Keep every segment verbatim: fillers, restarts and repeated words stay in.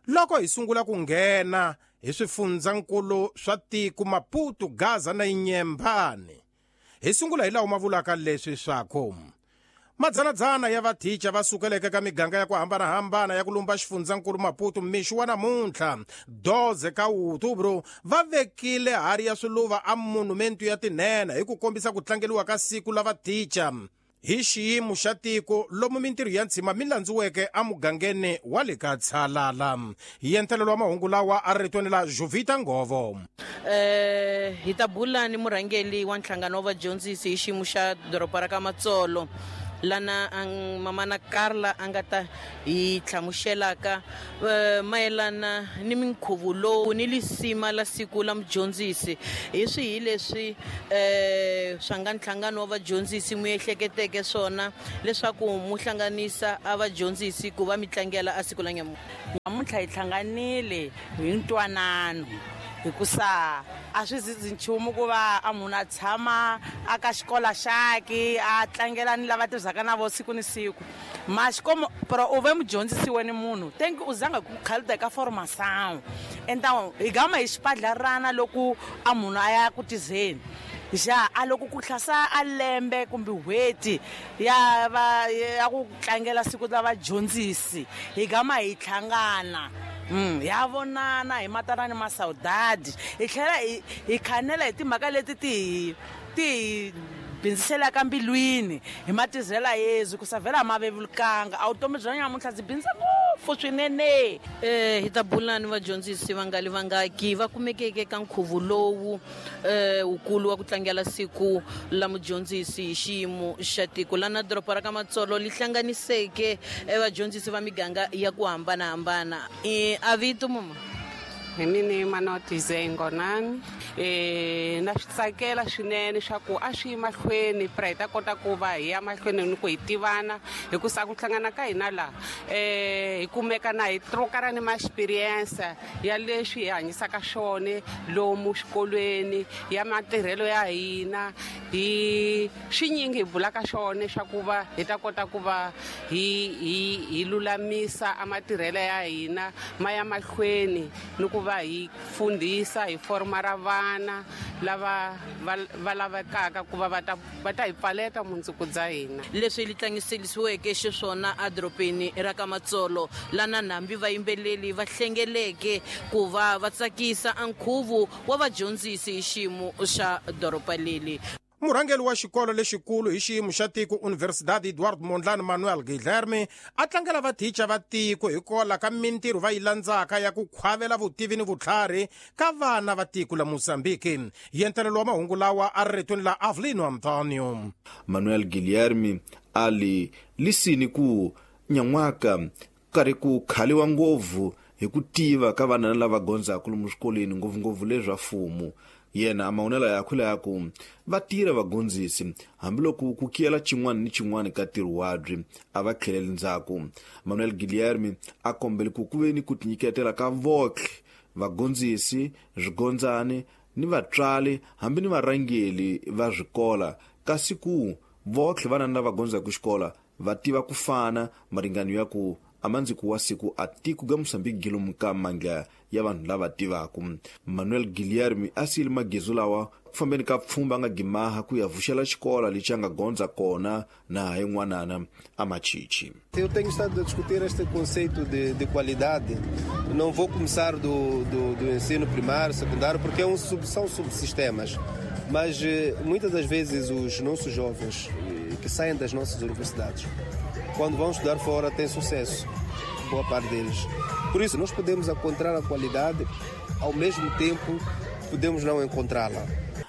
Loko hi sungula ku nghena hi swifundzankulu swa tiko Maputo, Gaza na Inyembane, hi sungula hi lawa ma vulaka leswi swaku madzanadzana ya vathicha va sukeleke ka miganga ya ku hambanahambana ya ku lumba xifundzankulu Maputo mixo wa namuntlha doze ka Outubro va vekile hari ya swiluva a monumentu ya tinhenha hi ku kombisa ku tlangeliwa ka siku la vathicha hi xiyimo xa tiko lomu mintirho ya ntshima mi landziweke emugangeni wa le ka Tshalala. Hi entelelo wa mahungu lawa a ri la Jovita Ngovo. Eh hi ta bula ni murhangeli wa nhlangano wa vadyondzisi hi xiyimo xa doroba ra ka Matsolo, lana ang mamana Carla a nga ta hi hlamuselaka mayelana ni minkhuvo lowu ni lisima la siku la mudyondzisi. Hi swihi leswi eh swa nga nhlangano wa vadyondzisi mu ehleketeke swona leswaku mu hlanganisa a vadyondzisi ku va mi tlangela a siku la nyamuntlha? Namuntlha hi hlanganile hi ntwanano hikusa a swi zizi nchumu ku va a munhu a tshama a ka xikola xaki a tlangela ni lava tirhisaka na vo siku ni siku. Ma xikomo pero u ve mudyondzisi wena munhu thank u zanga ku khalida ka formação. Então hi gama hi xipadlarana loko a munhu a ya ku tizeni ja a loko ku hlasa a lembe kumbe n'hweti ya va ya ku tlangela siku la vadyondzisi hi gama hi hlangana. Mm, ya vonana hi matana ni masaudade hi tlhela hi hi khanela hi timhaka leti ti ti bindziselaka mbilwini hi matizela Yesu ku savela mavevulukanga a vutomi bya nyamuntlha byi bindza ngopfu swinene. Eh hi ta bula ni vadyondzisi vangali vangaki va kumekeke ka nkhuvo lowu eh wukulu wa ku tlangela siku la mudyondzisi hi xiyimo xa tiko lana doroba ra ka Matsolo li hlanganiseke vadyondzisi va miganga ya ku hambanahambana. Eh a vito mama? Hi mina Manoti Ngonani. Eh na swi tsakela swinene swa ku a swi yi mahlweni pra hi ta kota ku va hi ya mahlweni ni ku hi tivana hikusa ku hlangana ka hina laha eh hi kumeka na hi trokara ni ma-experience ya leswi hi hanyisaka swona lomu xikolweni ya matirhelo ya hina hi swinyingi hi bulaka swona swa ku va hi ta kota ku va hi hi hi lulamisa a matirhelo ya hina ma ya mahlweni ni ku va hi fundhisa hi forma ra vana lava va lavekaka ku va va ta va ta hi pfaleta mundzuku bya hina. Leswi li tlangiselisiweke xiswona edorobeni ra ka Matsolo lana nambi vayimbeleli va hlengeleke ku va va tsakisa nkhuvo wa vadyondzisi hi xiyimo xa doroba leli. Murhangeri wa xikolo lexikulu hi xiyimo xa tiko Universidade Eduardo Mondlane Manuel Guilherme a tlangela vathicha va tiko hikwalaho ka mintirho va yi landzaka ya ku khwavela vutivi ni vutlhari ka vana va tiko la Mozambique. Yentelelo wa mahungu lawa a ri ritweni la Avelino Antonio. Manuel Guilherme a li lisini ku nyan'waka karhi ku khaliwa ngopfu hi ku tiva ka vana lava gondzaka lomu swikolweni ngopfungopfu leswa mfumo. Yena amahunelo yakwe la ku va tirha vagondzisi hambiloko ku kiyela xin'wana ni xin'wana ka ntirho wabyi a va tlheleli ndzhaku. Manuel Guilherme a kombele ku ku ve ni ku tinyiketela ka votlhe vagondzisi, swigondzani ni vatswari hambi ni varhangeli va swikola kasi ku votlhe vana lava gondzaka xikola va tiva ku fana maringano ya ku amandziku wa siku a tiko ga Mozambique gilomu ka mandla ya vanhu lava tivaka. Manuel Guilherme a siyile magezu lawa ku fambeni ka pfhumba a nga gimaha ku ya vuxela xikola lexi a nga gondza kona na ha yin'wanana a Machichi. Eu tenho estado a discutir este conceito de, de qualidade. Não vou começar do, do, do ensino primário, secundário, porque é um sub, são subsistemas. Mas muitas das vezes os nossos jovens que saem das nossas universidades, quando vão estudar fora, têm sucesso, boa parte deles. Por isso, nós podemos encontrar a qualidade, ao mesmo tempo, podemos não encontrá-la.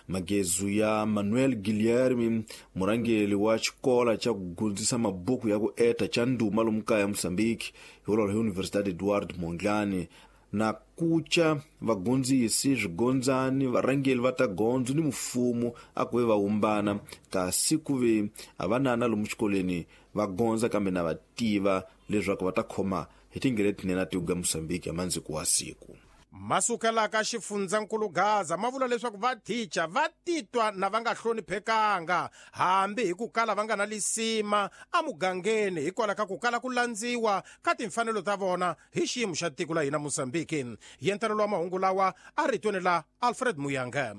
Magezu ya Manuel Guilherme, murhangeri wa xikola xa ku gundzisa mabuku ya ku eta xa ndhuma lomu kaya Mozambique, hi vulavula hi Universidade Eduardo Mondlane, na kuca vagondzisi, swigondzani, varhangeri va ta gondzo ni mfumo a ku ve va humbana kasi ku ve a vanana lomu xikolweni va gondza kambe na va tiva leswaku va ta khoma hi tindlela letinene ta tiko ra Mozambique ya mandziku wa siku. Masukela ka xifundzankulu Gaza ma vula leswaku vathicha va titwa na va nga hloniphekanga hambi hi ku kala va nga na lisima emugangeni hikwalaho ka ku kala ku landziwa ka timfanelo ta vona hi xiyimo xa tiko la hina Mozambique. Yentelelo wa mahungu lawa a ritweni la Alfred Muyanga.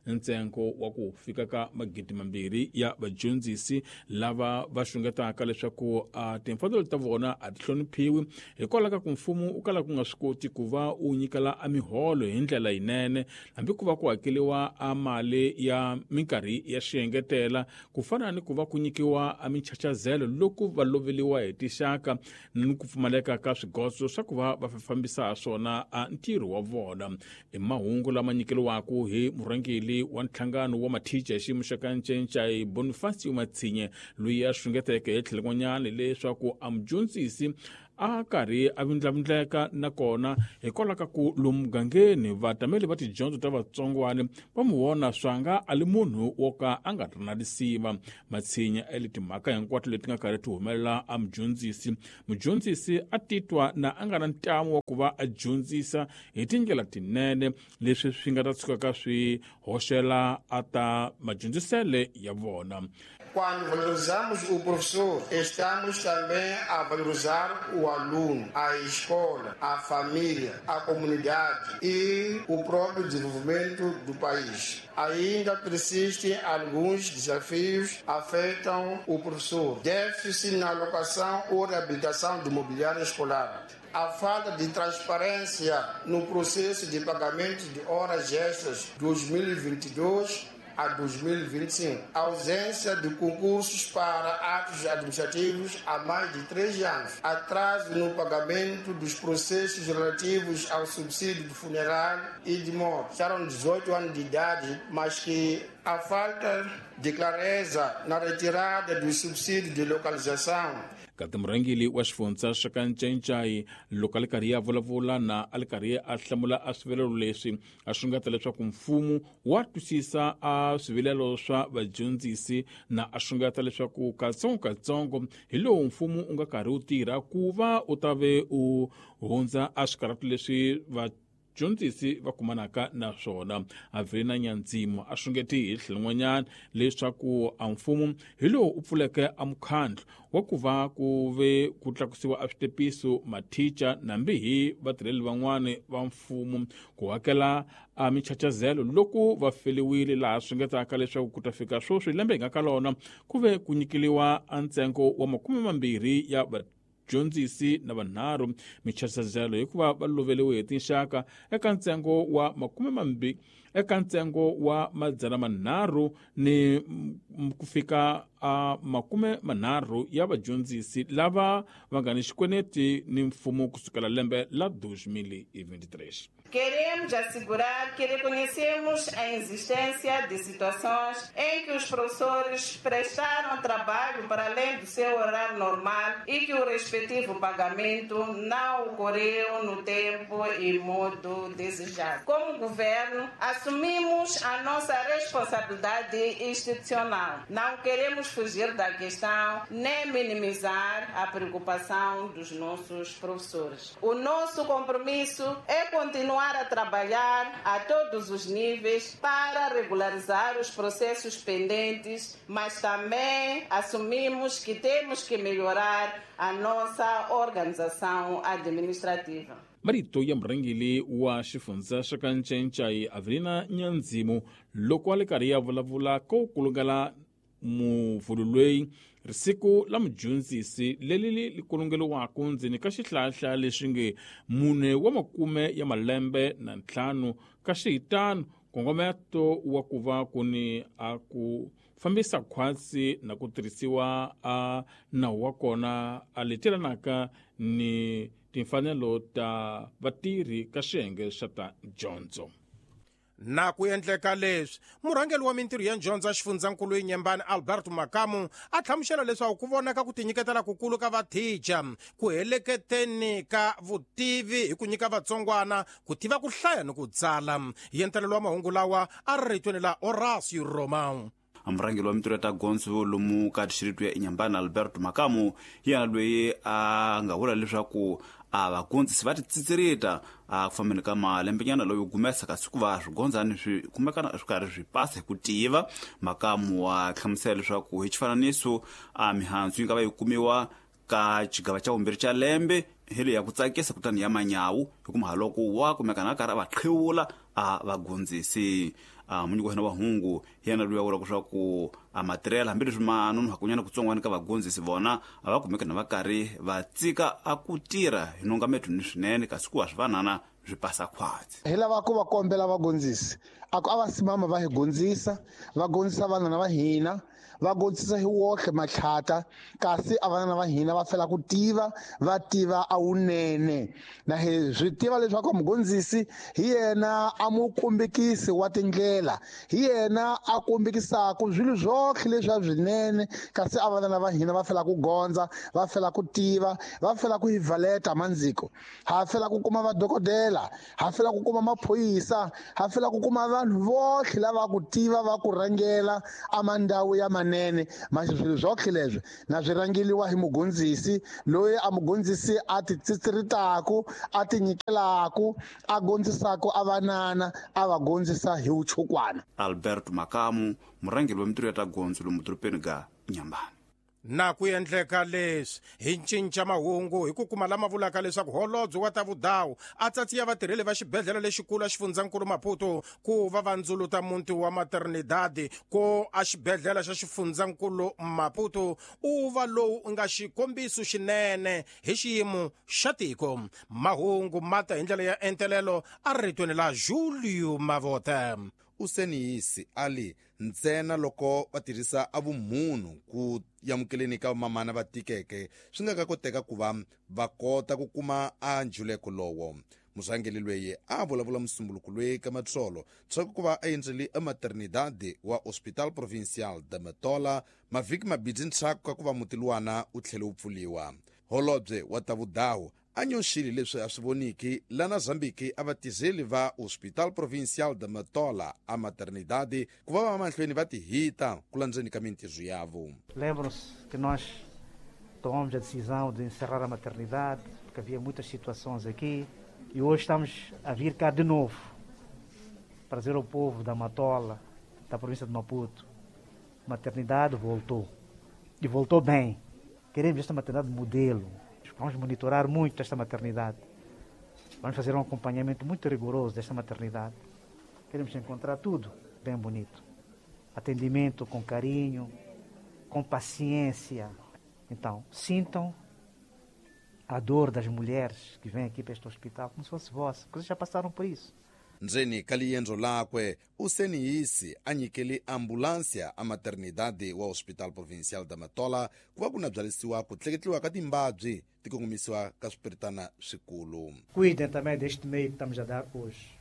Ntsengo wa ku fika ka magidi mambirhi ya vadyondzisi lava va xungetaka leswaku a timfanelo ta vona a ti hloniphiwi hikwalaho ka ku mfumo u kala ku nga swi koti ku va u nyikela a miholo hi ndlela yinene hambi ku va ku hakeriwa a mali ya minkarhi ya xiengetela ku fana ni ku va ku nyikiwa a minchachazelo loko va loveliwa hi tixaka ni ku pfumaleka ka swigoso swa ku va va fambisa swona a ntirho wa vona. I mahungu lama nyikeriwaka hi murhangeri wa nhlangano wa mathicha hi xiyimo xa ka Ncencai Bonifacio Matsinye loyi a xungeteke hi tlhelo n'wanyana leswaku a mudyondzisi a karhi a vindlavindleka nakona hikwalaho ka ku lomu mugangeni vatameli va tidyondzo ta vatsongwana va mu vona swanga a li munhu wo ka a nga ri na lisima. Matshinya ele timhaka hinkwato leti nga karhi ti humelela a mudyondzisi. Mudyondzisi a titwa na a nga na ntamu wa ku va a dyondzisa hi tindlela tinene leswi swi nga ta tshukaka swi hoxela a ta madyondzisele ya vona. Quando valorizamos o professor, estamos também a valorizar o aluno, a escola, a família, a comunidade e o próprio desenvolvimento do país. Ainda persistem alguns desafios que afetam o professor. Déficit na alocação ou reabilitação do mobiliário escolar. A falta de transparência no processo de pagamento de horas extras dois mil e vinte e dois a dois mil e vinte e cinco. A ausência de concursos para atos administrativos há mais de três anos. Atraso no pagamento dos processos relativos ao subsídio de funeral e de morte. Eram dezoito anos de idade, mas que a falta de clareza na retirada do subsídio de localização. Kati murhangeri wa xifundza xa ka Ncencai loko a li karhi a vulavula na a li karhi a hlamula a swivilelo leswi a xungeta leswaku mfumo wa twisisa a swivilelo swa vadyondzisi na a xungeta leswaku katsongokatsongo hi lowu mfumo u nga karhi wu tirha ku va u ta ve u hundza a swikarhati leswi va dyondzisi va kumanaka na swona. Avelina Nyandzimo a xungeti hi tlhelo n'wanyana leswaku a mfumo hi lowu u pfuleke a mukhandlu wa ku va ku ve ku tlakusiwa a switepiso mathicha nambi hi vatirheli van'wani va mfumo ku hakela a minchachazelo loko va feliwile laha swingetaka leswaku ku ta fika sweswi lembe hi nga ka lona ku ve ku nyikeliwa a ntsengo wa makume mambirhi ya vadyondzisi na vanharhu minchachazelo hikuva va loveliwe hi tinxaka eka ntsengo wa makume mambirhi eka ntsengo wa madzana manharhu ni ku fika a makume manharhu ya vadyondzisi lava va nga ni xikweneti ni mfumo kusukela lembe la dois mil e vinte e três. Queremos assegurar que reconhecemos a existência de situações em que os professores prestaram trabalho para além do seu horário normal e que o respectivo pagamento não ocorreu no tempo e modo desejado. Como governo, assumimos a nossa responsabilidade institucional. Não queremos fugir da questão nem minimizar a preocupação dos nossos professores. O nosso compromisso é continuar a trabalhar a todos os níveis para regularizar os processos pendentes, mas também assumimos que temos que melhorar a nossa organização administrativa. Marito ya murhangeri wa xifundza xa ka Ncencai Avelina Nyandzimo loko a li karhi ya vulavula ko kulungela muvhulu loyi risiku la mudyondzisi leri li kulungeliwaka ndzeni ka xihlahla lexi nge mune wa makume ya malembe na ntlhanu ka xihitano nkongometo wa ku va ku ni a ku fambisa khwatsi na ku tirhisiwa a nawu wa kona a letelanaka ni timfanelo ta vatirhi ka xiyenge xa ta dyondzo. Na ku endleka leswi murhangeri wa mintirho ya dyondzo xifundzankulu Inyembani Alberto Makamu a hlamusela leswaku ku vonaka ku tinyiketela kukulu ka vathicha ku heleketeni ka vutivi hi ku nyika vatsongwana ku tiva ku hlaya ni ku tsala. Yentelelo wa mahungu lawa a ri ritweni la Horacio Romão. Murhangeri wa mintirho ya ta gondzo lomu ka dixiritu ya Inhambane Alberto Makamu hi yena loyi a nga vula leswaku a vagondzisi va titsitsirita a ku fambeni ka malembenyana loyo gumesa kasi ku va swigondzani swi kumekana swi karhi swi pasa hi ku tiva. Makamu wa hlamusela leswaku hi xifananiso a mihandzu yi nga va yi kumiwa ka xigava xa vumbirhi xa lembe hi leyi ya ku tsakisa kutani ya manyawu hikuva loko wa kumekana a karhi a va qhiwula a vagondzisi. A munyiki wa hina wa hungu hi yena loyi a vulaka leswaku a matirhelo hambileswi ma nonohakunyana kutsongwana ka vagondzisi vona a va kumeka na va karhi va tsika a ku tirha hi nongametweni swinene kasi ku wa swivanana swi pasa khwatsi. Hi lava ku va kombela vagondzisi a ku a va simama va hi gondzisa, va gondzisa vanana va hina, va gondzisa hi wohle matlhata, kasi a vanana va hina va fela ku tiva, va tiva a wunene. Na hi swi tiva leswaku mugondzisi hi yena a mu kombekisi wa tindlela, hi yena a kombekisaka swilo swohle leswi a swinene, kasi a vanana va hina va fela ku gondza, va fela ku tiva, va fela ku hi valeta mandziko, ha fela ku kuma vadokodela, ha fela ku kuma maphorisa, ha fela ku kuma vanhu vohle lava ku tiva va ku rhangela a mandhawu ya manene. Manje swilo swohle leswi na swi rhangeliwa hi mugondzisi loyi a mugondzisi a titsitsiritaku, a tinyikelaku, a gondzisaku a vanana, a va gondzisa hi vuchukwana. Alberto Makamu, murhangeri wa mintirho ya ta gondzo lomu dorobeni ga Inhambane. Na ku endleka leswi hi cinca mahungu hi ku kuma lama vulaka leswaku holobye wa ta vudawu a tsatsiya vatirheli va xibedhlele lexikulu a xifundzankulu Maputo ku va va ndzuluta muti wa Maternidade ko a xibedhlele xa xifundzankulu Maputo u va lowu nga xikombiso xinene hi xiyimo xa tiko. Mahungu ma ta hi ndlela ya entelelo a ritweni la Julio Mavote. Useniyisi ali ntsena loko va tirhisa a vumunhu ku yamukeleni ka mamana va tikeke swi nga ka koteka ku va va kota ku kuma a njuleko lowo. Murhangeri loyi a vulavula musumbuluko loyi ka Matsolo tshaku ku va a endzele ematernidade wa Hospital Provincial de Matola mavhiki mabidzi ntshaku ka ku va muti luwana wu tlhele wu pfuliwa. Holobye wa ta vudawu a nyoxile leswi a swi voniki lana Zambiki a vatizeli va Hospital Provincial de Matola a maternidade ku va va mahlweni va tihita ku landzeni ka mintirho yavo. Lembram-se que nós tomamos a decisão de encerrar a maternidade porque havia muitas situações aqui e hoje estamos a vir cá de novo para dizer ao povo da Matola, da província de Maputo, a maternidade voltou e voltou bem. Queremos esta maternidade modelo. Vamos monitorar muito esta maternidade. Vamos fazer um acompanhamento muito rigoroso desta maternidade. Queremos encontrar tudo bem bonito. Atendimento com carinho, com paciência. Então, sintam a dor das mulheres que vêm aqui para este hospital como se fosse vossa, porque vocês já passaram por isso. Ndzeni ka liendzo lakwe useniyisi a nyikele ambulância a maternidade wa Hospital Provincial da Matola ku va ku na byalisiwa ku tleketliwa ka timbabyi ti kongomisiwa ka swipiritana swikulu. Cuidem também deste meio que estamos a dar hoje.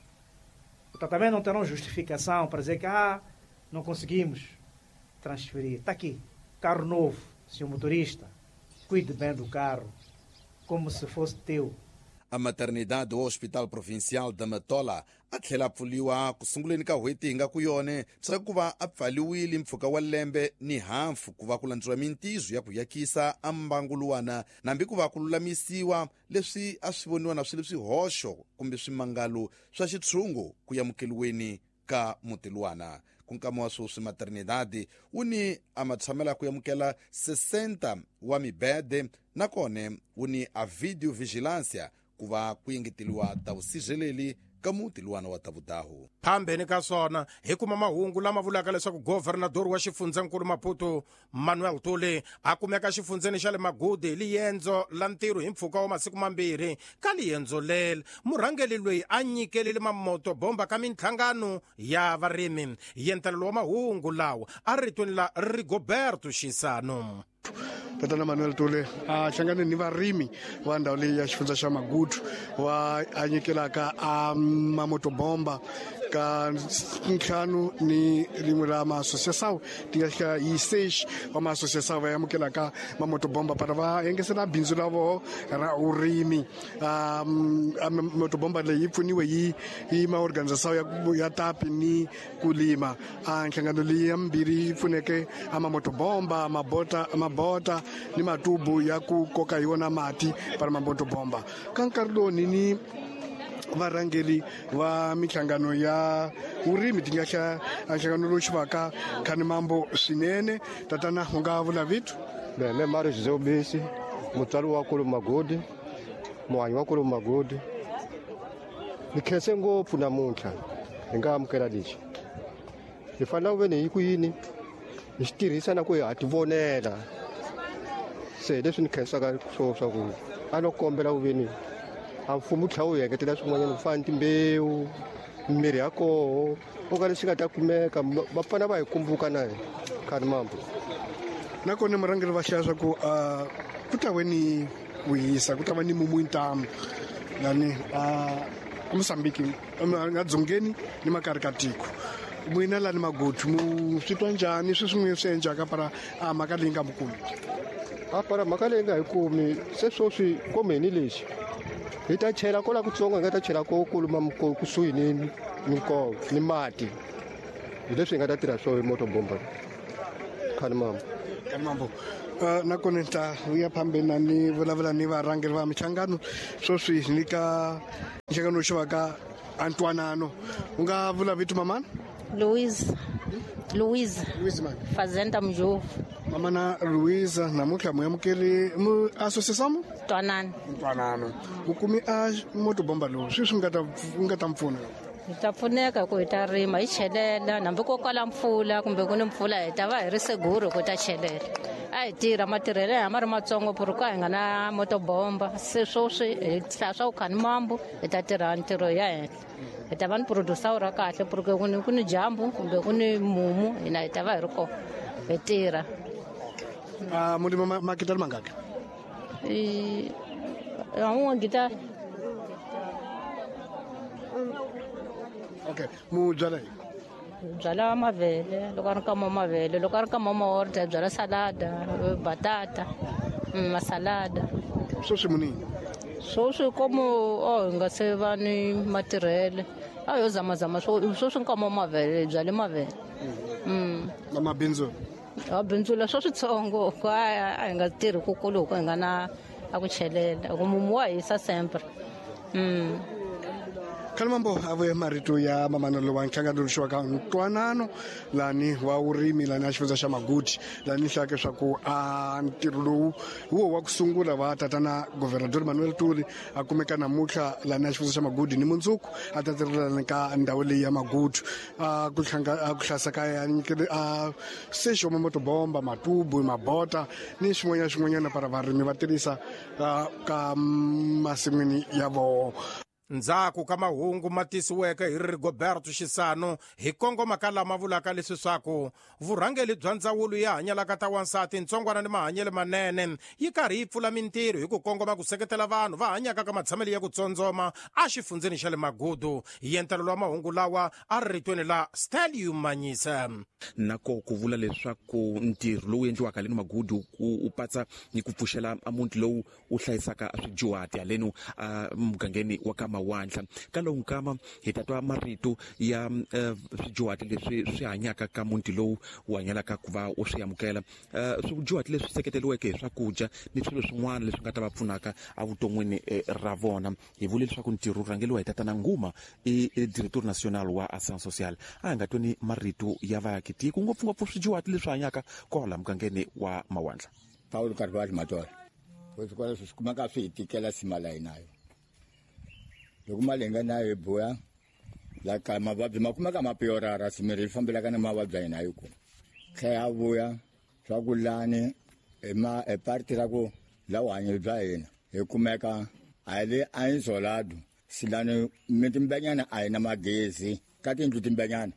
Portanto, também não terão justificação para dizer que ah, não conseguimos transferir. Está aqui, carro novo, senhor motorista, cuide bem do carro, como se fosse teu. A maternidade do Hospital Provincial da Matola a tlhela pfuliwa ku sunguleni ka n'hweti hi nga ku yone swa ku va a pfaliwile mpfhuka wa lembe ni hafu ku va ku landziwa mintizo ya ku yakisa a mbanguluwana nambi ku va ku lulamisiwa leswi a swi voniwa na swilo swihoxo kumbe swimangalo swa xitshungu ku yamukeliweni ka mutilwana. Ku nkama wa sweswi maternidade wu ni a matshamela ku yamukela sessenta wa mibede nakone wu ni a video vigilância ku va ku yengeteliwa ta vusirheleli ka muti luwana wa tavudahu. Phambeni ka swona hi kuma mahungu lama vulaka leswaku governador wa xifundzankulu Maputo Manuel Tuli a kumeka xifundzeni xa le Magude hi liendzo la ntirho hi mpfhuka wa masiku mambirhi. Ka liendzo leri murhangeri loyi a nyikelile mamoto bomba ka minhlangano ya varimi. Yentelelo wa mahungu lawa a ritweni la Rigoberto Xisano. Tatana Manuel Tule a hlangane ni varimi va ndhawu leyi ya xifundza xa Magudu va a nyikelaka a mamotobomba Ka ntlhanu ni rin'we ra ma-associação ti nga fika hi seis wa ma-associação va amukelaka mamotobomba para va engesela bindzu ra voho ra urimi. Um, motobomba leyi yi pfuniwe hi hi maorganização ya, ya tapi ni kulima. A nhlangano leyi ya mbirhi yi pfuneke a mamotobomba, mabota, mabota ni matubu ya ku koka hi wona mati para mamotobomba. Ka nkarhi lowu ni ni varhangeri va minhlangano ya vurimi ti nga hla nhlangano lowu xivaka Khanimambo swinene. Tatana u nga vula vito? Me Mario José Ubisi, mutswari wa kulu Magodi, muhanyi wa kulu Magodi. Ni khense ngopfu namuntlha hi nga amukela lexi. Hi fanele ku ve ni hi ku yini hi xi tirhisa na ku hi ha ti vonela. Se leswi ni khensaka swo swa ku a no kombela ku ve ni a mfumo wu tlhela wu engetela swin'wanyana ku fana ni timbewu, mirhi ya koho, o ka leswi nga ta kumeka va fana va hi kumbuka na hina Khanimambo. Nakona murhangeri va hlaya swa ku ku ta ve ni ku hisa, ku ta va ni mumu ntamu lani a Mozambique, a dzongeni ni makari ka tiko. N'wina lani Magudu mu swi twa njhani sweswi n'wi swi endlaka para a mhaka leyi nga mi kumi? A para mhaka leyi nga hi kumi se sweswi komeni lexi hi ta chela kola kutsongo hi nga ta chela ko kuluma kusuhi ni minkova ni mati. Hi leswi hi nga ta tirha swo hi motobomba. Khanimambo. Khanimambo. Uh, nakona ni ta ya phambeni na ni vulavula ni varhangeri va minhlangano sweswi ni ka nhlangano xivaka Antwanano. U nga vula vito mamana? Louise. Louise. Louise man. Fazenda Mjovu. Mamana Louise namuntlha mu amukeri mu associação? Ntwanano. Ntwanano. Mu kumi a motobomba lowu sweswi nga ta nga ta mpfuna? Hi ta pfuneka ku hi ta rima hi chelela hambi ko kwala mpfula kumbe ku ni mpfula hi ta va hi ri seguro ku ta chelela. A hi tirha matirhelo ya ma ri matsongo ku hi nga na motobomba se sweswi hi hlaya swa ku Khanimambo hi ta tirha ntirho ya henhla. Hi ta va ni producer ra kahle porque ku ni ku ni dyambu kumbe ku ni mumu hina hi ta va hi ri kona hi tirha. Ah, mu lima makitali mangaki? Eh, a gita. Okay, mu byala yini? Byala mavele, loko a ri nkama wa mavele, loko a ri nkama wa maorda hi byala salada, batata, masalada. Sweswi mu nini? Sweswi komu oh hi nga se va ni matirhele. A yo zamazama sweswi nkama wa mavele hi byale mavele. Mm. Na mabindzu? A bindzula swa switsongo ku a hi nga tirhi kukulu hi nga na a ku chelela ku mumu wa hisa sempre. Mm. Khanimambo a vuye marito ya mamanelo wa nhlangano lowu Ntwanano lani wa vurimi lani a xifundza xa Magudu lani hlaka swa ku a ntirho lowu wo wa ku sungula va tatana Governador Manuel Tuli a kumeka namuntlha lani a xifundza xa Magudu ni mundzuku a ta tirhelana ka ndhawu leyi ya Magudu a ku hlanga a ku hlasa ka ya a sexo motobomba matubu mabota ni swin'wanyana swin'wanyana para varimi va tirhisa ka masin'wini ya voho. Ndzhaku ka mahungu ma tisiweke hi Rigoberto Xisano hi kongoma ka lama vulaka leswi swaku vurhangeri bya ndzawulo ya hanyalaka ta wansati ntsongwana ni mahanyelo manene yi karhi yi pfula mintirho hi ku kongoma ku seketela vanhu va hanyaka ka matshamelo ya ku tsondzoma exifundzeni xa le Magudu. Hi entelelo wa mahungu lawa a ri ritweni la Stelium Manyisa. Nako ku vula leswaku ntirho lowu endliwaka haleni Magudu u patsa ni ku pfuxela muti lowu u hlayisaka swidyuhati haleni mugangeni wa ka Mawandla. Ka lowu nkama hi ta twa marito ya swidyuhati leswi swi hanyaka ka muti lowu wu hanyalaka ku va u swi amukela, swidyuhati leswi seketeriweke hi swakudya ni swilo swin'wana leswi nga ta va pfunaka evuton'wini ra vona. Hi vule leswaku ntirho wu rhangeriwa hi tatana Nguma, i directeur national wa Action Sociale. A hi nga tweni marito ya vaakitiko ngopfungopfu swidyuhati leswi hanyaka kwala mugangeni wa Mawandla. Paulo Carvalho Matola, swikolo swi kumeka swi hi tikela sima la hina loko mali hi nga nayo hi buya la ka mavabyi ma kumeka ma piorara simiri yi fambelaka na mavabyi ya hina yi ku tlhela ya vuya swa ku lani hi ma hi parti ra ku la vuhanyo bya hina hi kumeka a hi le a insolado silani mitimbanyana a hi na magezi ka tiyindlu timbanyana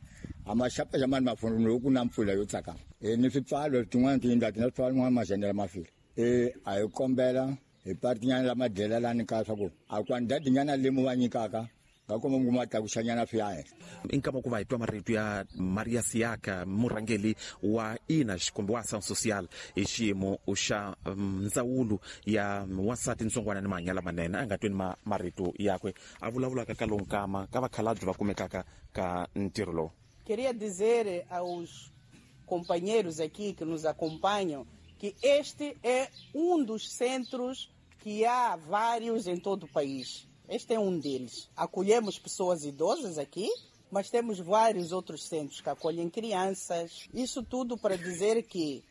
a ma xapa mani mafoni loko ku na mpfula yo tsakama e ni swipfalo tin'wana tiyindlu a ti na swipfalo n'wana mazhendela ma file e a hi kombela hi partinyana la madyela lani ka swa ku a kwandadinyana lemu va nyikaka Nga kuma mi kuma tlakusanyana swi ya henhla. I nkama ku va hi twa marito ya Maria Siaka, murhangeri wa I N A kumbe wa Ação Social hi xiyimo xa ndzawulo ya wansati, ntsongwana ni mahanyelo lamanene. A nga tweni ma marito yakwe a vulavulaka ka lowu nkama ka vakhalabye va kumekaka ka ntirho lowu. Queria dizer aos companheiros aqui que nos acompanham que este é um dos centros que há vários em todo o país. Este é um deles. Acolhemos pessoas idosas aqui, mas temos vários outros centros que acolhem crianças. Isso tudo para dizer que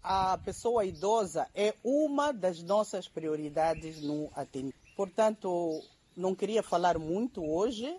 a pessoa idosa é uma das nossas prioridades no atendimento. Portanto, não queria falar muito hoje.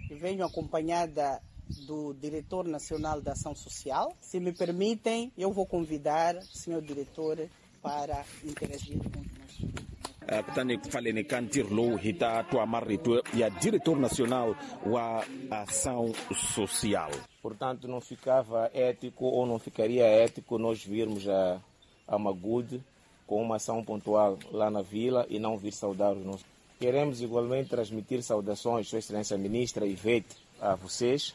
Venho acompanhada do Diretor Nacional da Ação Social. Se me permitem, eu vou convidar o senhor diretor para interagir conosco. Uh, kutani ku pfaleni ka ntirho lowu hi ta twa marito ya diretor nacional wa Ação Social. Portanto, não ficava ético ou não ficaria ético nós virmos a, a Magude com uma ação pontual lá na vila e não vir saudar os nossos. Queremos igualmente transmitir saudações, Sua Excelência Ministra Ivete, a vocês.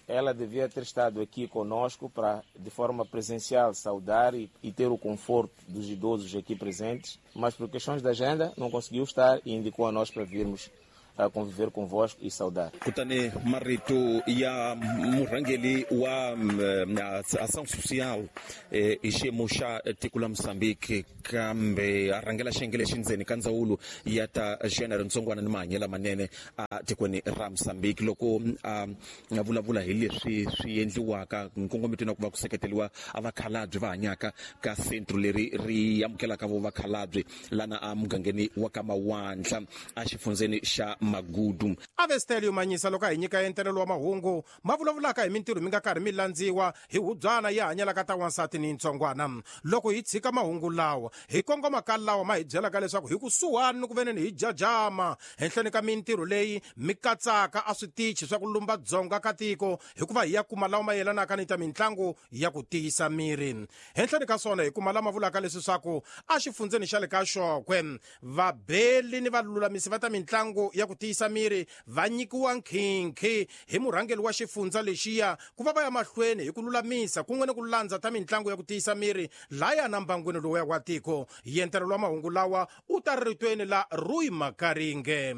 Ela devia ter estado aqui conosco para, de forma presencial, saudar e, e ter o conforto dos idosos aqui presentes, mas por questões da agenda não conseguiu estar e indicou a nós para virmos a conviver convosco e saudar. Kutani marito ya murhangeri wa mm, Ação Social eh, hi xiyimo xa tiko la Mozambique kambe a rhangela xiyenge lexi ndzeni ka ndzawulo ya ta género, ntsongwana ni mahanyelo lamanene a tikweni ra Mozambique, loko a a vulavula hi leswi swi endliwaka nkongometo na ku va ku seketeriwa a vakhalabye va hanyaka ka centro leri ri amukelaka vo vakhalabye lana a mugangeni wa ka Mawandla a xifundzeni xa Magudu. Avestelio Manyisa loko a hi nyika entelelo wa mahungu ma vulavulaka hi mintirho mi nga karhi mi landziwa hi hubyana yi hanyelaka ta wansati ni ntsongwana. Loko hi tshika mahungu lawa, hi kongoma ka lawa ma hi byelaka leswaku hi kusuhani ni ku veneni hi jajama henhleni ka mintirho leyi mi katsaka a switichi swa ku lumba dzonga ka tiko, hikuva hi ya kuma lawa ma yelanaka ni ta mitlangu ya ku tiyisa miri. Henhleni ka swona hi kuma lama vulaka leswi swaku a xifundzeni xa le ka Xokwe vabeli ni valulamisi va ta mitlangu ya ku tiyisa miri va nyikiwa nkhinkhi hi murhangeri wa xifundza lexiya ku va va ya mahlweni hi ku lulamisa kun'we ni ku landza ta mitlangu ya ku tiyisa miri laya na mbangwini lowuya wa tiko. Yentelelo wa mahungu lawa u ta ritweni la Rui Makaringe.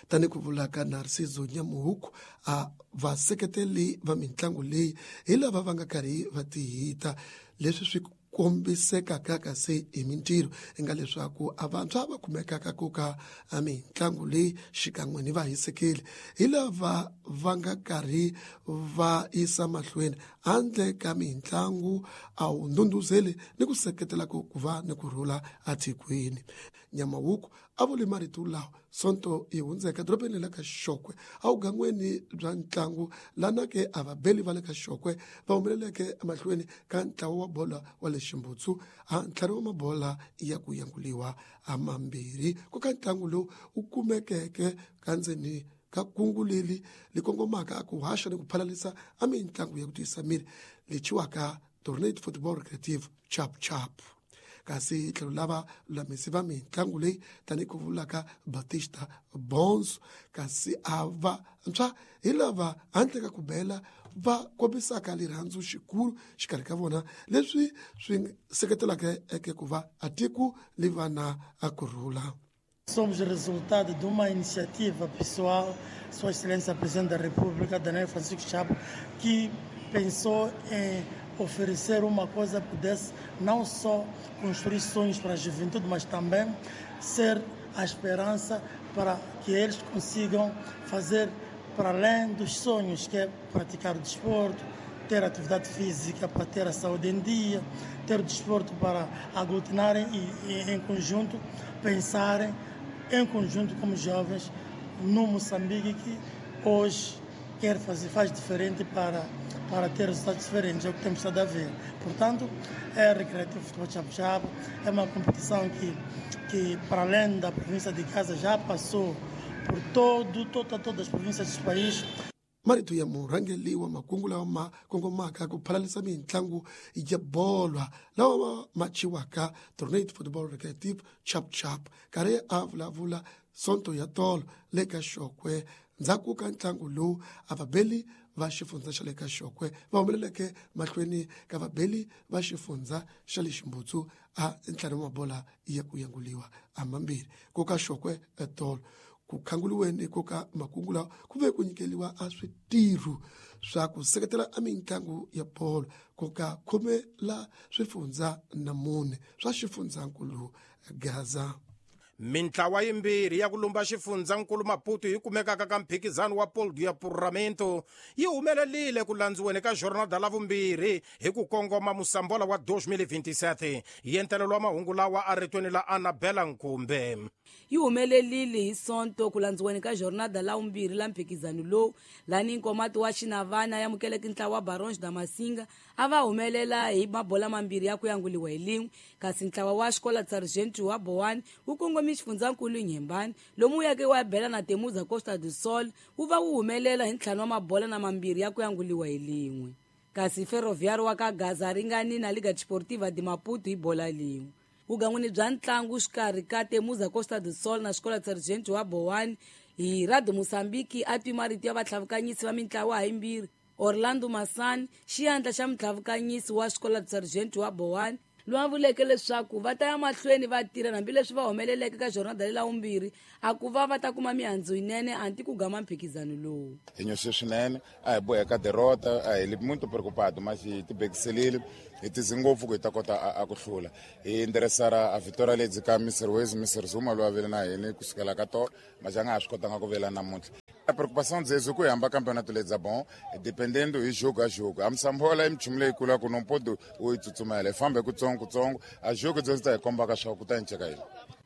Tani ku vulaka Narciso Nyamuhuku, a vaseketeli va mitlangu leyi hi lava va nga karhi va tihita leswi swi kombisekaka kasi hi mintirho i nga leswaku a vantshwa va kumekaka ku ka a mitlangu leyi xikan'we ni vahisekeli hi lava va nga karhi va yisa mahlweni handle ka mitlangu a wu ndhundhuzeli ni ku seketela ku ku va ni ku rhula atikweni. Nyamawuku a vuli marito lawa sonto yi hundzeka dorobeni la ka Xokwe awugangweni bya ntlangu lana ke a vabeli va le ka Xokwe va humeleleke emahlweni ka ntlawa wa bola wa le Ximbutsu a ntlhanu wa mabola ya ku yanguliwa a mambirhi ku ka ntlangu lowu wu kumekeke ka ndzeni ka kungu leri li kongomaka ku haxa ni ku phalalisa a mitlangu ya ku tiyisa miri lechiwaka Tornado Football Recreative Chap Chap. Kasi tlhelo lava lulamisi va mitlangu leyi tanihi ku vulaka Batista Bonzo, kasi a va ntshwa hi lava handle ka ku bela va kombisaka rirhandzu xikulu xikarhi ka vona leswi swi seketelaka eke ku va a tiko li va na a kurhula. Somos resultado de uma iniciativa pessoal, Sua Excelência Presidente da República, Daniel Francisco Chapo, que pensou em oferecer uma coisa que pudesse não só construir sonhos para a juventude, mas também ser a esperança para que eles consigam fazer para além dos sonhos, que é praticar o desporto, ter atividade física para ter a saúde em dia, ter o desporto para aglutinarem e, e em conjunto pensarem em conjunto como jovens no Moçambique, que hoje quer fazer, faz diferente para, para ter resultados diferentes, é o que temos estado a ver. Portanto, é Recreativo Futebol Chapo Chapo, é uma competição que, que para além da província de Gaza, já passou por todo, toda, todas as províncias do país. Marito ya murhangeri wa makungu lawa ma kongomaka ku phalalisa mitlangu ya bolo lawa ma machiwaka Tornado Football Recreative Chap Chap karhi a vulavula Sonto ya tolo le ka Xokwe. Ndzhaku ka ntlangu lowu a vabeli va xifundza xa le ka Xokwe va humeleleke mahlweni ka vabeli va xifundza xa le Ximbutsu a ntlhanu wa mabola ya ku yanguliwa a mambirhi. Ku ka Xokwe etolo ku khanguliweni ku ka makungu lawa ku ve ku nyikeliwa a switirho swa ku seketela a mitlangu ya bolo ku ka khume la swifundza na mune swa xifundzankulu Gaza. Mintlawa yimbirhi ya ku lumba xifundzankulu Maputo yi kumekaka ka mphikizano wa Polo ya Puramento yi humelelile ku landziweni ka jornada la vumbirhi hi ku kongoma musambola wa twenty twenty-seven. Yentelelo wa mahungu lawa a ritweni la Annabella Nkumbe. Yi humelelile hi Sonto ku landziweni ka jornada la vumbirhi la mphikizano lowu lani Nkomati wa Xinavana ya amukeleke ntlawa wa Barões da Masinga a va humelela hi mabola mambirhi ya ku yanguliwa hi lin'we, kasi ntlawa wa Escola de Sargento wa Boane wu kongomisa xifundzankulu Inhembane lomu yake wa bela na Temuza Costa do Sol wu va wu humelela hi ntlhanu wa mabola na mambirhi ya ku yanguliwa hi lin'we, kasi Ferroviário wa ka Gaza ringani na Liga Desportiva de Maputo hi bola lin'we. Vugan'wini bya ntlangu xikarhi ka Temuza Costa do Sol na Escola de Sargento wa Boane hi Radio Mozambique a twi marito ya vatlhavukanyisi va mintlawa hayimbirhi. Orlando Masani, xiyandla xa mutlhavukanyisi wa Escola de Sargento wa Boane, loyi a vuleke leswaku va ta ya mahlweni va tirha hambileswi va humeleleke ka jornada lela vumbirhi a ku va va ta kuma mihandzu yinene anti ku gama mphikizano lowu. Hi nyose swinene, a hi boheka derrota, a hi li muito preocupado, mas hi tibekiselile hi tize ngopfu ku hi ta kota a ku hlula. Hi endereçar a vitória lebyi ka Mister Wezi, Mister Zuma loyi a vile na hina kusukela ka tolo, mas a nga ha swi kotanga ku vela namuntlha. A preocupação dzezo ku hamba campeonato ledza bom, dependendo hi jogo a jogo. A Msambola i minchumu leyikulu ya ku no pode u yi tsutsumela, hi fambe kutsongo kutsongo, a jogo dzezo ta hi kombaka swa ku ta enceka yini.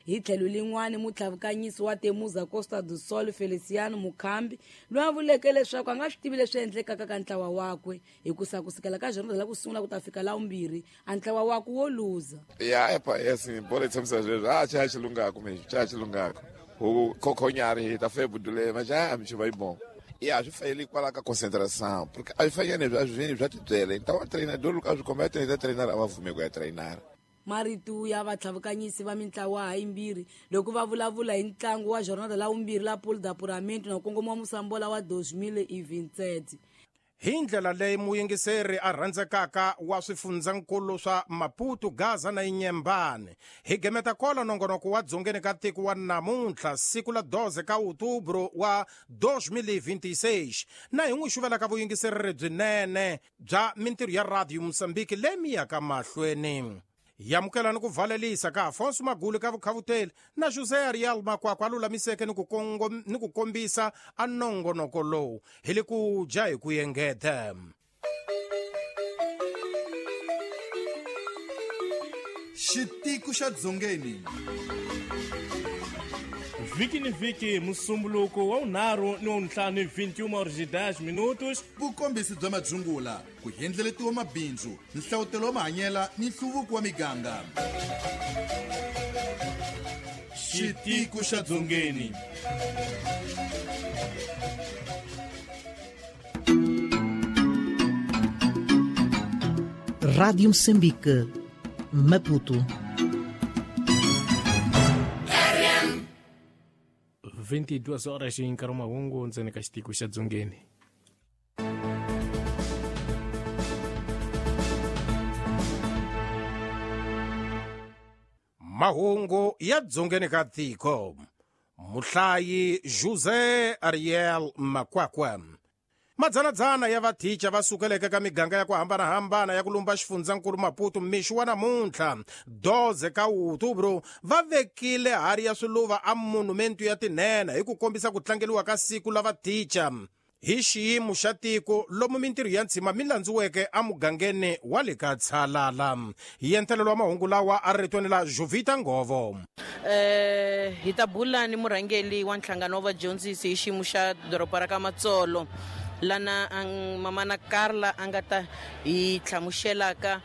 Hi tlhelo lin'wani mutlhavukanyisi wa Temuza Costa do Sol Feliciano Mukhambi loyi a vuleke leswaku a nga swi tivi leswi endlekaka ka ntlawa wakwe hikusa kusukela ka jornada la ku sungula ku ta fika la vumbirhi a ntlawa wakwe wo luza. Ya epa yes bolo yi tshamisa sweswo a xa xilungako mesmo xa xilungako o kokhonyari ta fe budule mas já me vai bom. E a gente faz ele qual a concentração, porque a gente faz às vezes já te dele. Então o treinador o caso como é treinar treinar a fume é treinar. Marito ya vatlhavukanyisi va mintlawa hayimbirhi loko va vulavula hi ntlangu wa jornada la vumbirhi la Polo da Puramento na kongoma wa Musambola wa twenty twenty-seven. Hi ndlela leyi muyingiseri a rhandzekaka wa swifundzankulu swa Maputo, Gaza na Inhembane. Hi gemeta kola nongonoko wa dzongeni ka tiko wa namuntlha siku la doze ka outubro wa twenty twenty-six na hi n'wi xuvelaka vuyingiseri lebyinene bya mintirho ya Radio Mozambique leyi mi yaka mahlweni. Yamukela ni ku valelisa ka Afonso Magulu ka vukhavuteli na José Ariel Makwakwa a lulamiseke ni ku ni ku kombisa a nongonoko lowu hi le ku dya hi ku engeta. Xitiko xa Dzongeni vhiki ni vhiki musumbuluko wa vunharhu ni wa vuntlhanu vinte e uma horas e dez minutos. Vukombisi bya madzungula ku hendleletiwa mabindzu nhlawutelo wa mahanyela ni nhluvuko wa miganga. Xitiko xa Dzongeni. Rádio Moçambique, Maputo. vinte e duas horas em Karumaungo, ntsena ka xitiko xa Dzongeni. Mahungu ya Dzongeni ka tiko. Muhlayi José Ariel Makwakwa. Madzanadzana ya vathicha va sukeleke ka miganga ya ku hambanahambana ya ku lumba xifundzankulu Maputo mixo wa namuntlha doze ka outubro va vekile hari ya swiluva a monumentu ya tinhenha hi ku kombisa ku tlangeliwa ka siku la vathicha hi xiyimo xa tiko lomu mintirho ya ntshima mi landziweke emugangeni wa le ka Tshalala. Hi entelelo wa mahungu lawa a ritweni la Jovita Ngovo. Eh hi ta bula ni murhangeli wa nhlangano wa vadyondzisi hi xiyimo xa doroba ra ka Matsolo lana ang mamana Carla a nga ta hi hlamuselaka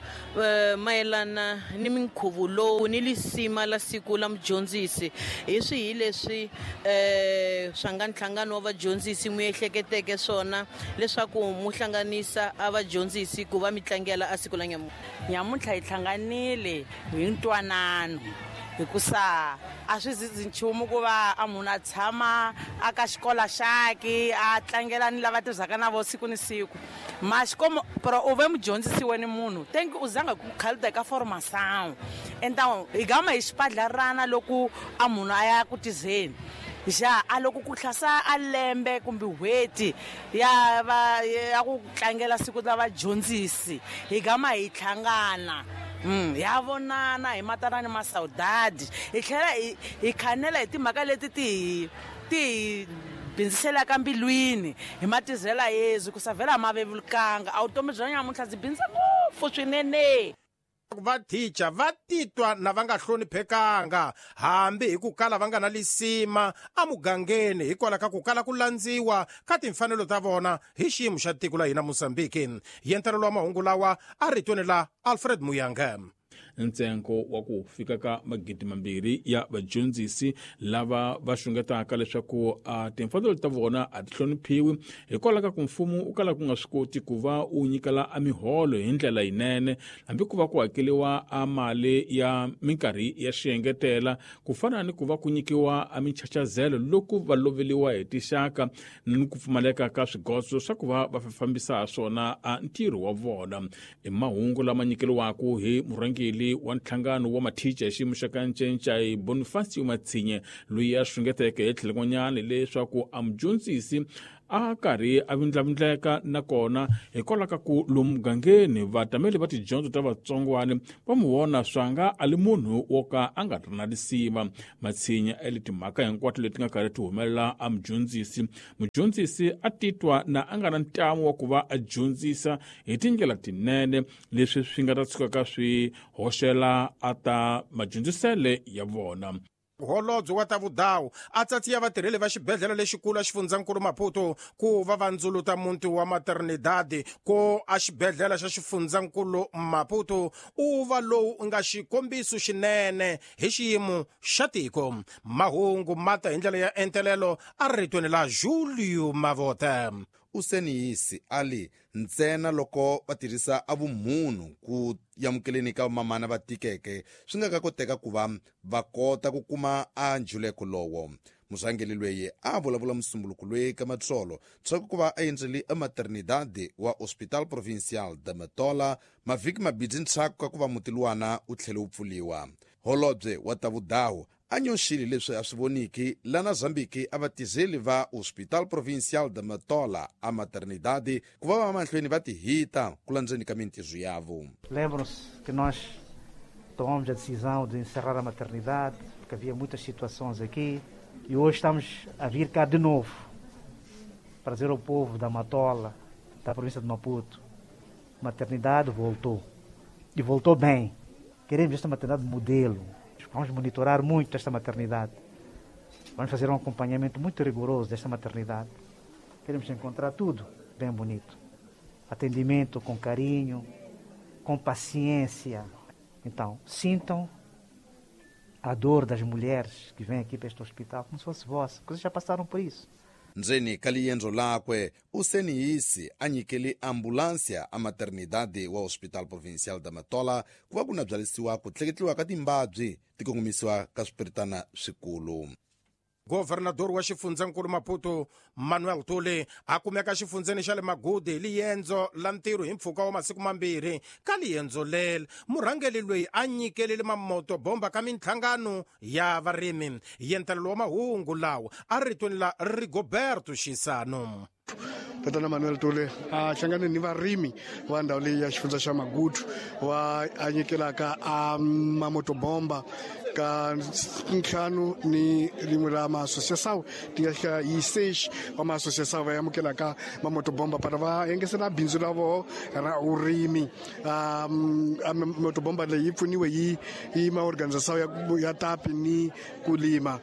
mayelana ni minkhuvo lowu ni lisima la siku la mudyondzisi hi swihi leswi eh swa nga nhlangano wa vadyondzisi mu ehleketeke swona leswaku mu hlanganisa a vadyondzisi ku va mi tlangela a siku la nyamuntlha. Nyamuntlha hi hlanganile hi ntwanano Hikusa a swi zizi nchumu ku va a munhu a tshama a ka xikola xaki a tlangela ni lava tirhisaka na vo siku ni siku. Ma xikomo pero u ve mudyondzisi ni munhu thank u zanga ku khalida ka formação. Então hi gama hi xipadlarana loko a munhu a ya ku tizeni. Ja a loko ku hlasa a lembe kumbe n'hweti ya va ya ku tlangela siku la vadyondzisi hi gama hi hlangana. Mm, ya vonana hi matana ni masaudade hi tlhela hi hi khanela hi timhaka leti ti ti bindziselaka mbilwini hi matizela Yesu ku savela mavevulukanga a vutomi bya nyamuntlha byi bindza ngopfu swinene. Va teacher va titwa na va nga hloniphekanga hambi hi ku kala va nga na lisima emugangeni hikwalaho ka ku kala ku landziwa ka timfanelo ta vona hi xiyimo xa tiko la hina Mozambique. Yentelelo wa mahungu lawa a ritweni la Alfred Muyanga. Ntsengo wa ku fika ka magidi mambirhi ya vadyondzisi lava va xungetaka leswaku a timfanelo ta vona a ti hloniphiwi hikwalaho ka ku mfumo u kala ku nga swi koti ku va u nyikela a miholo hi ndlela yinene hambi ku va ku hakeriwa a mali ya minkarhi ya xiengetela ku fana ni ku va ku nyikiwa a minchachazelo loko va loveliwa hi tixaka ni ku pfumaleka ka swigodzo swa ku va va fambisa swona a ntirho wa vona. I mahungu lama nyikeriwaka hi murhangeri wa nhlangano wa mathicha hi xiyimo xa ka Ncencai Bonifacio Matsinye loyi a xungeteke hi tlhelo leswaku a mudyondzisi a karhi a vindlavindleka nakona hikwalaho ka ku lomu mugangeni vatameli va tidyondzo ta vatsongwana va mu vona swanga a li munhu wo ka a nga ri na lisima. Matshinya eli timhaka hinkwato leti nga karhi ti humelela a mudyondzisi. Mudyondzisi a titwa na a nga na ntamu wa ku va a dyondzisa hi tindlela tinene leswi swi nga ta tshukaka swi hoxela a ta madyondzisele ya vona. Holobye wa ta vudawu a tsatsiya vatirheli va xibedhlele lexikulu a xifundzankulu Maputo ku va vandzuluta muti wa Maternidade ko a xibedhlele xa xifundzankulu Maputo u va lowu nga xikombiso xinene hi xiyimo xa tiko. Mahungu mata hi ndlela ya entelelo a ritweni la Julio Mavote. Useniyisi ali ntsena loko va tirhisa a vumunhu ku yamukeleni ka mamana va tikeke swi nga ka koteka ku va va kota ku kuma a njuleko lowo. Murhangeri loyi a vulavula musumbuluko loyi ka Matsolo tshaku ku va a endzele ematernidade wa Hospital Provincial de Matola mavhiki mabidzi ntshaku ka ku va muti luwana u tlhele wu pfuliwa. Holobye wa ta vudawu a nyoxile leswi a swi voniki lana Zambiki a vatizeli va Hospital Provincial de Matola a maternidade ku va va mahlweni va tihita ku landzeni ka mintirho yavo. Lembram-se que nós tomamos a decisão de encerrar a maternidade, porque havia muitas situações aqui, e hoje estamos a vir cá de novo para dizer ao povo da Matola, da província de Maputo, a maternidade voltou, e voltou bem. Queremos esta maternidade modelo. Vamos monitorar muito esta maternidade. Vamos fazer um acompanhamento muito rigoroso desta maternidade. Queremos encontrar tudo bem bonito. Atendimento com carinho, com paciência. Então, sintam a dor das mulheres que vêm aqui para este hospital como se fosse vossa, porque vocês já passaram por isso. Ndzeni ka liendzo lakwe useniyisi a nyikele ambulansia a maternidade wa Hospital Provincial da Matola ku va ku na byalisiwa ku tleketliwa ka timbabyi ti kongomisiwa ka swipiritana swikulu. Governador wa xifundzankulu Maputo Manuel Tule a kumeka xifundzeni xa le Magude hi liendzo la ntirho hi mpfhuka wa masiku mambirhi. Ka liendzo leri murhangeri loyi a nyikelele mamoto bomba ka minhlangano ya varimi. Yentelelo wa mahungu lawa a ritweni la Rigoberto Xisano. Tatana Manuel Tule a hlangane ni varimi va ndhawu leyi ya xifundza xa Magudu va a nyikelaka a mamotobomba ka ntlhanu ni rin'we ra maassociação ti nga fika hi seis wa maassociação va amukelaka mamotobomba para va engesela bindzu ra voho ra vurimi. Motobomba leyi yi pfuniwe hi hi maorganização ya, ya tapi ni kulima.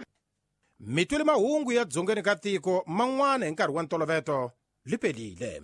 Mitweli mahungu ya dzongeni ka tiko man'wana hi nkarhi wa ntoloveto li pelile.